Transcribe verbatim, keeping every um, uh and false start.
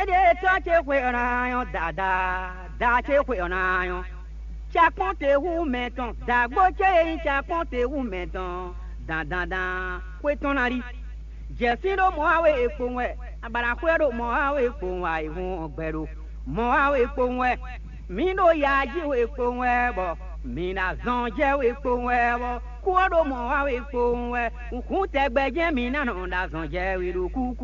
Ɖe tɔ́ ce xwe ɔ́ ná nyɔ́ dada, da ce xwe ɔ́ ná nyɔ́. Cakpɔ́n te hú mɛ tɔn, dǎgbó ce e nyí cakpɔ́n te hú mɛ tɔn, dandandan xwé tɔn ná ɖi. Jɛ̌sin ɖo mɔ̌ wa wɛ è kpowun wɛ, abǎɖaxwé ɔ́ ɖo mɔ̌ wa wɛ è kpowun wɛ, ayǐhun ɔ́ gbɛ ɖo mɔ̌ wa wɛ è kpowun wɛ. Mǐ ɖo ya jí wɛ è kpowun wɛ, bɔ mǐ ɖo azɔn jɛ wɛ è kpowun wɛ, bɔ kú ɔ́ ɖo mɔ̌ wa wɛ è kpowun wɛ. Hǔn tɛgbɛ jɛ́n mǐ ná nɔ ɖo azɔn jɛ wɛ ɖo kúkú.